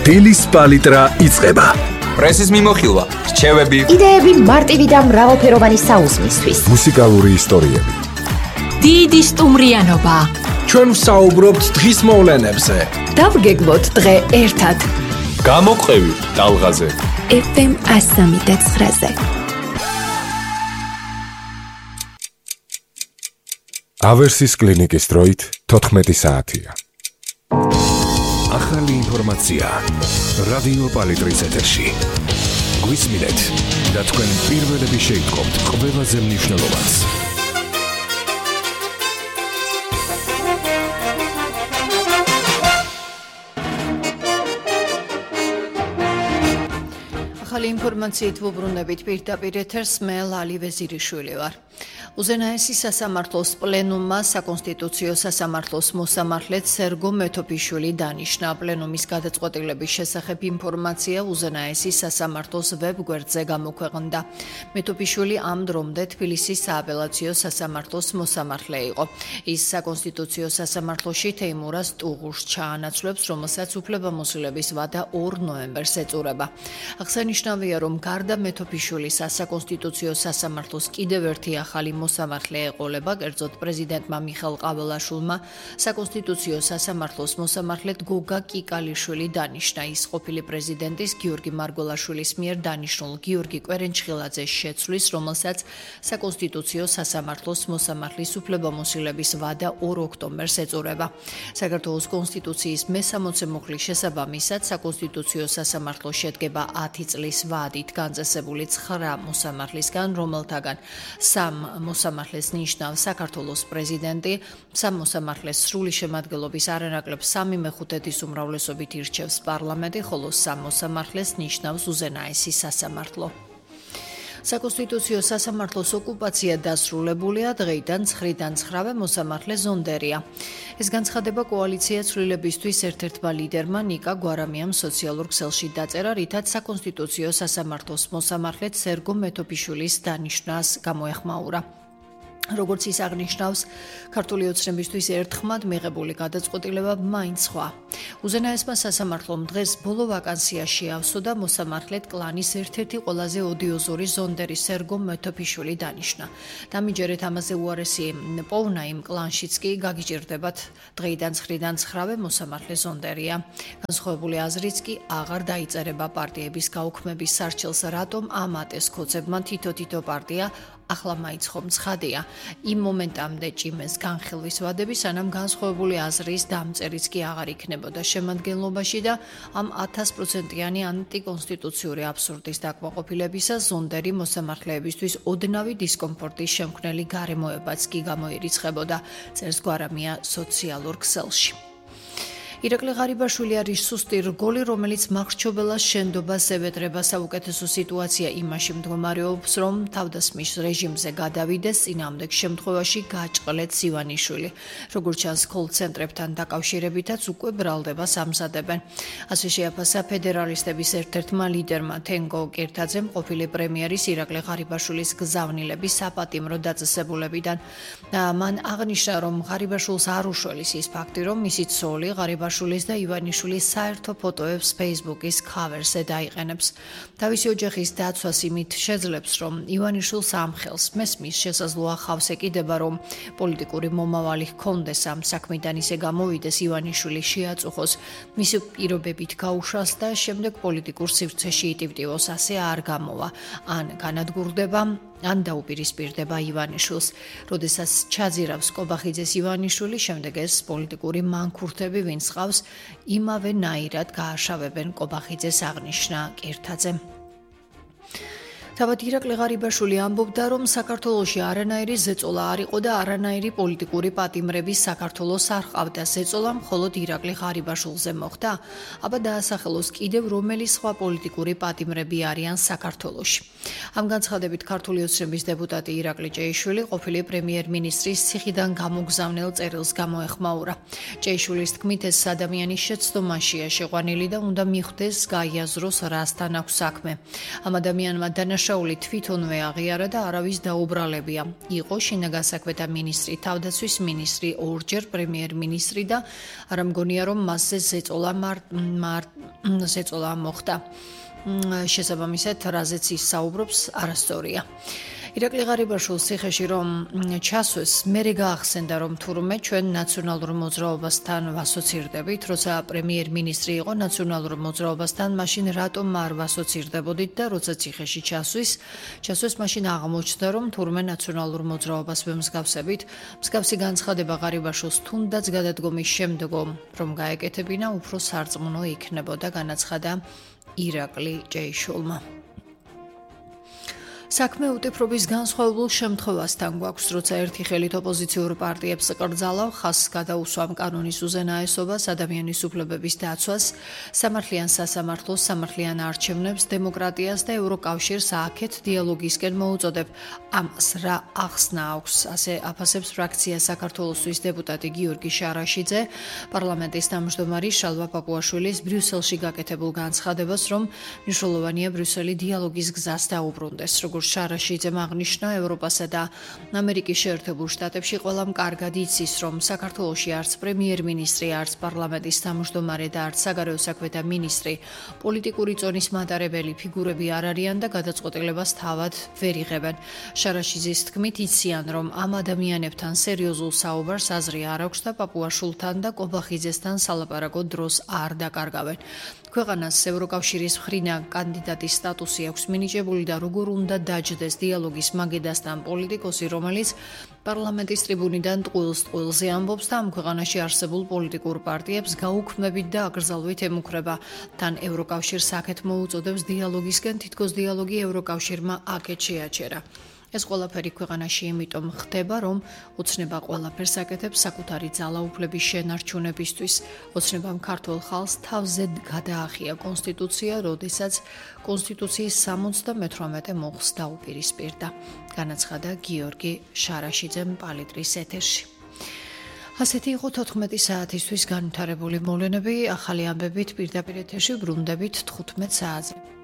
დილის პალიტრა იწყება. პრესის მიმოხილვა, რჩევები, იდეები მარტივი და მრავალფეროვანი საუზმისთვის. მუსიკალური ისტორიები. დიდი სტუმრიანობა. ჩვენ ვსაუბრობთ დღის მოვლენებზე. დავგეგმოთ დღე ერთად. გამოყევი ტალღაზე. FM 103.9-ზე. ავერსის კლინიკის დროით 14 საათია. ახალი ინფორმაცია რადიო პალიტრის ეთერში. გვისმინეთ და თქვენ პირველები შეიტყობთ ყველაზე მნიშვნელოვანს. ახალი ინფორმაციით ვუბრუნებით პირდაპირ ეთერს, მე ლალი ვეზირიშვილი ვარ. უზენაესი სასამართლოს პლენუმმა საკონსტიტუციო სასამართლოს მოსამართლედ სერგო მეთოფიშვილი დანიშნა. პლენუმის გადაწყვეტილების შესახებ ინფორმაცია უზენაესი სასამართლოს ვებგვერდზე გამოქვეყნდა. მეთოფიშვილი ამ დრომდე თბილისის სააპელაციო სასამართლოს მოსამართლე იყო. ის საკონსტიტუციო სასამართლოში თეიმურაზ ტუღურს ჩაანაცვლებს, რომელსაც უფლებამოსილების ვადა 2 ნოემბერს ეწურება. აღსანიშნავია, რომ გარდა მეთოფიშვილის საკონსტიტუციო სასამართლოს კიდევ ერთი ახალი მოსამართლე ეყოლება, კერძოდ პრეზიდენტმა მიხეილ ყაველაშვილმა საკონსტიტუციო სასამართლოს მოსამართლედ გოგა კიკალიშვილი დანიშნა. ის ყოფილი პრეზიდენტის გიორგი მარგველაშვილის მიერ დანიშნულ გიორგი კვერენჩხილაძეს შეცვლის, რომელსაც საკონსტიტუციო სასამართლოს მოსამართლის უფლებამოსილების ვადა 2 ოქტომბერს ეწურება. საქართველოს კონსტიტუციის მე-60 მუხლის შესაბამისად საკონსტიტუციო სასამართლო შედგება 10 წლის ვადით განწესებული 9 მოსამართლისგან, რომელთაგან 3 მოსამართლეს ნიშნავს საქართველოს პრეზიდენტი, 3 მოსამართლეს სრული შემადგენლობის არანაკლებ 3/5 უმრავლესობით ირჩევს პარლამენტი, ხოლო 3 მოსამართლეს ნიშნავს უზენაესი სასამართლო. საკონსტიტუციო სასამართლოს ოკუპაცია დასრულებულია, დღეიდან 9-დან 9 მოსამართლე ზონდერია. ეს განცხადება კოალიცია ცვლილებისთვის ერთ-ერთმა ლიდერმა ნიკა გვარამიამ სოციალურ ქსელში დაწერა, რითაც საკონსტიტუციო სასამართლოს მოსამართლედ სერგო მეთოფიშვილის დანიშნას გამოეხმაურა. როგორც ის აღნიშნავს, ქართული ოცნებისთვის ერთხმად მიღებული გადაწყვეტილება მაინც სხვა. უზენაესმა სასამართლომ დღეს ბოლო ვაკანსიაში ავსო და მოსამართლედ კლანის ერთ-ერთი ყველაზე ოდიოზური ზონდერი სერგო მეთოფიშვილი დანიშნა. დამიჯერეთ ამაზე უარესი პოვნა იმ კლანშიც კი გაგიჭირდებათ დღეიდან 9-დან 9 მოსამართლე ზონდერია. განსხვავებული აზრიც კი აღარ დაიწერება პარტიების გაუქმების სარჩელს, რატომ ამ ატესქოცებმა თითო პარტია ახლა მაინც ხომ ცხადია. იმ მომენტამდე ჭიმეს განხილვის ვადები, სანამ განსხვავებული აზრის დამწერიც კი აღარ იქნებოდა შემადგენლობაში და ამ 1000%-იანი ანტიკონსტიტუციური აბსურდის დაკმაყოფილებისას ზონდერი მოსამართლეებისთვის ოდნავი დისკომფორტის შემქმნელი გარემოებაც კი გამოირიცხებოდა, წერს გვარამია სოციალურ ქსელში. ირაკლი ღარიბაშვილი არის სუსტი რგოლი, რომელიც მახრჩობელას შენდობას ევეტრება. საუკეთესო სიტუაცია იმაში მდგომარეობს, რომ თავდასხმის რეჟიმზე გადავიდეს, წინააღმდეგ შემთხვევაში გააჭყლეთს ივანიშვილი. როგორც ჩანს, კოლ-ცენტრებთან დაკავშირებითაც უკვე ბრალდებას ამზადებენ. ასე შეაფასა ფედერალისტების ერთ-ერთმა ლიდერმა თენგო კირთაძემ ყოფილი პრემიერის ირაკლი ღარიბაშვილის გზავნილების საპატიმრო დაწესებულებიდან. მან აღნიშნა, რომ ღარიბაშვილს არ უშველის ის ფაქტი, რომ მისი ცოლი ღარიბაშვილის და ივანიშვილის საერთო ფოტოებს Facebook-ის cover-ზე დაიყენებს. თავისი ოჯახის დაცვას იმით შეძლებს, რომ ივანიშვილს ამხელს მესმის შესაძლოა ხავს ეკიდება, რომ პოლიტიკური მომავალი ჰქონდეს ამ საქმიდან ისე გამოვიდეს, ივანიშვილი შეაწუხოს, მისი პირობებით გაუშვას და შემდეგ პოლიტიკურ სივრცეში იტივტივოს, ასე არ გამოვა, ან განადგურდება, ან დაუპირისპირდება ივანიშვილს. როდესაც ჩაძირავს კობახიძეს ივანიშვილი, შემდეგ ეს პოლიტიკური მანქურთები ვინც ყავს, იმავე ნაირად გააშავებენ კობახიძეს, აღნიშნა კირთაძემ. თავად ირაკლი ღარიბაშვილი ამბობდა, რომ საქართველოში არანაირი ზეწოლა არ იყო და არანაირი პოლიტიკური პატიმრები საქართველოს არ ყავდა. ზეწოლა მხოლოდ ირაკლი ღარიბაშვილზე მოხდა. აბა დაასახელოს კიდევ რომელი სხვა პოლიტიკური პატიმრები არიან საქართველოში. ამ განცხადებით ქართული ოცნების დეპუტატი ირაკლი ჭეიშვილი ყოფილი პრემიერ-მინისტრის ციხიდან გამოგზავნილ წერილს გამოეხმაურა. ჭეიშვილის თქმით, ეს ადამიანის შეცდომაშია შეყვანილი და უნდა მიხვდეს გაიაზროს რასთან აქვს საქმე. ამ ადამიანმა დანაშაული თვითონვე აღიარა და არავის დაუბრალებია. იყო შინაგან საქმეთა მინისტრი, თავდაცვის მინისტრი, ორჯერ პრემიერ-მინისტრი და არ მგონია, რომ მასზე ზეწოლა ზეწოლა მოხდა. შესაბამისად, რაზეც ის საუბრობს, არასწორია. ირაკლი ღარიბაშვილს ციხეში რომ ჩასვეს, მერე გაახსენდა, რომ თურმე ჩვენ ნაციონალურ მოძრაობასთან ვასოცირდებით, როცა პრემიერ-მინისტრი იყო ნაციონალურ მოძრაობასთან, მაშინ რატომ არ ვასოცირდებოდით და როცა ციხეში ჩასვეს, მაშინ აღმოჩნდა, რომ თურმე ნაციონალურ მოძრაობას ვემსგავსებით. მსგავსი განცხადება ღარიბაშვილს თუნდაც გადადგომის შემდგომ, რომ გაეკეთებინა, უფრო სარწმუნო იქნებოდა, განაცხადა ირაკლი ჭეიშვილმა. საქმე უტიფრობის განსხვავებულ შემთხვევასთან გვაქვს, როცა ერთი ხელით ოპოზიციურ პარტიებს კრძალავ, ხაზს გადაუსვამ კანონის უზენაესობას, ადამიანის უფლებების დაცვას, სამართლიან სასამართლოს, სამართლიან არჩევნებს, დემოკრატიას და ევროკავშირს აქეთ დიალოგისკენ მოუწოდებ. ამას რა ახსნა აქვს, ასე აფასებს ფრაქცია საქართველოსთვის დეპუტატი გიორგი შარაშიძე, პარლამენტის თავმჯდომარე შალვა პაპუაშვილის ბრიუსელში გაკეთებულ განცხადებას, რომ მნიშვნელოვანია ბრიუსელი დიალოგის გზას დაუბრუნდეს. შარაშიძემ აღნიშნა, ევროპასა და ამერიკის შეერთებულ შტატებში ყველამ კარგად იცის, რომ საქართველოში არც პრემიერ-მინისტრი, არც პარლამენტის თავმჯდომარე და არც საგარეო საქმეთა მინისტრი პოლიტიკური წონის მატარებელი ფიგურები არ არიან და გადაწყვეტილებას თავად ვერ იღებენ. შარაშიძის თქმით, იციან, რომ ამ ადამიანებთან სერიოზულ საუბარს აზრი არ აქვს და პაპუაშვილთან და კობახიძესთან სალაპარაკო დროს არ დაკარგავენ. ქვეყანას ევროკავშირის მხრიდან კანდიდატის სტატუსი აქვს მინიჭებული და როგორ უნდა დაჯდეს დიალოგის მაგიდასთან პოლიტიკოსი, რომელიც პარლამენტის ტრიბუნიდან ტყუილს-ტყუილზე ამბობს და ამ ქვეყანაში არსებულ პოლიტიკურ პარტიებს გაუქმებით და აკრძალვით ემუქრება. თან ევროკავშირს აქეთ მოუწოდებს დიალოგისკენ, თითქოს დიალოგი ევროკავშირმა აქეთ შეაჩერა. ეს ყველაფერი ქვეყანაში იმიტომ ხდება, რომ ოცნება ყველაფერს აკეთებს საკუთარი ძალაუფლების შენარჩუნებისთვის. ოცნებამ ქართულ ხალხს თავზე გადაახია კონსტიტუცია, როდესაც კონსტიტუციის 78 მოხს დაუპირისპირდა, განაცხადა გიორგი შარაშიძემ პალიტრის ეთერში. ასეთი იყო 14 საათისთვის განვითარებული მოვლენები, ახალი ამბებით პირდაპირ ეთერში ბრუნდებით 15 საათზე.